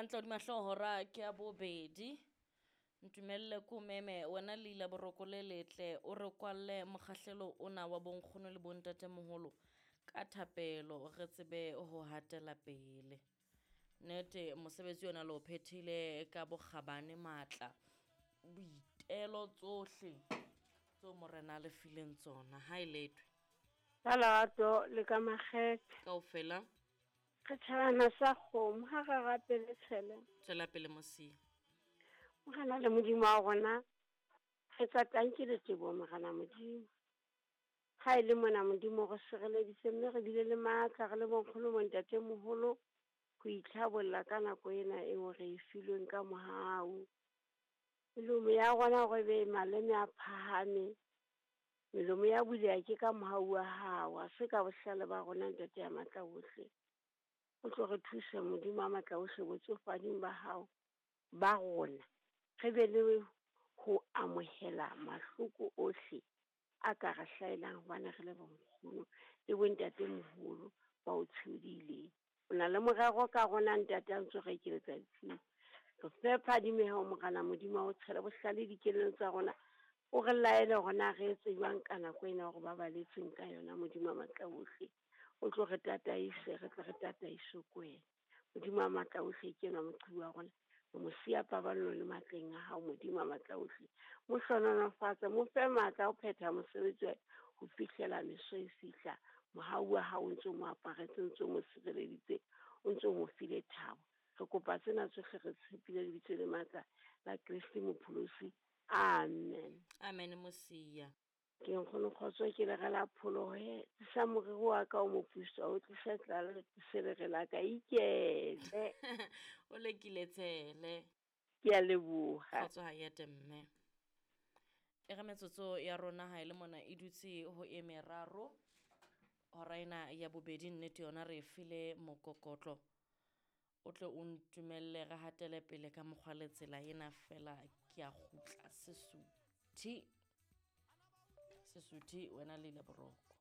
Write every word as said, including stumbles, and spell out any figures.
Hantle hodima hlooho hora ke ya bobedi. Ntumelle ko meme wena Leila Boroko le letle o re kwalle mokgahlelo ona wa bonkgono le bontatemoholo ka thapelo re tsebe ho hatela pele. Nnete mosebetsi ona le o phethile ka bokgabane, matla, boitelo tsohle tseo morena a le fileng tsona. Ha e letwe. Ka lerato le ka makgethe. Kaofela. Re tjhabana sa kgomo ha re rapele tshele. Tswela pele Mosia. Morena le Modimo wa rona, re tsa tanki le teboho Morena Modimo. Ha e le mona Modimo re sireleditse mme re bile le matla re le bonkgono bontatemoholo ho itlhabolla ka nako ena eo re e filweng ka mohau. Melomo ya rona hore be maleme a phahame, melomo ya buleha ke ka mohau wa hao, ha se ka bohlale ba rona Ntate ya matla ohle. O tlo re thuse Modimo wa matla ohle botsofading ba hao ba rona, re be le ho amohela mahloko ohle a ka re hlahelang hobane re le bonkgono le bontatemoholo ba o tshodileng. O na le morero ka rona Ntate a ntso re ekeletsa ditshiu. Re fe phadimeho Morena Modimo wa ho tshela bohlale dikelellong tsa rona, o re laele hore na re etse jwang ka nako ena hore ba baletsweng ka yona Modimo wa matla ohle. O tlo re tataise, re tle re tataiswe ke wena. Modimo wa matla ohle ke enwa moqhibi wa rona. Re mo siya paballong le matleng a hao Modimo wa matla ohle. Mo hlohonolofatse, mo fe matla a ho phetha mosebetsi wa ho fihlela meso e fihla. Mohau wa hao o ntso mo aparetse, o ntso mo sireleditse, o ntso mo file thabo. Re kopa tsena tsohle re tshepile lebitso le matla la Kreste Mopholosi. Amen. Amen Mosia. Ke nkgono kgotso ke le rela pholohe. Tlisa moriri wa ka o moputswa, o tlise tlala le tlise lere la ka ikele. O lekile tshele. Ke a leboha. Kgotso ha e ete mme. E re metsotso ya rona ha e le mona e dutse ho e meraro. Hora ena ya bobedi nnete yona re e file mokokotlo. O tle o ntumelle re hatele pele ka mokgwa le tsela ena fela ke a kgutla Sesuthi. Sesuthi wena Leila Boroko.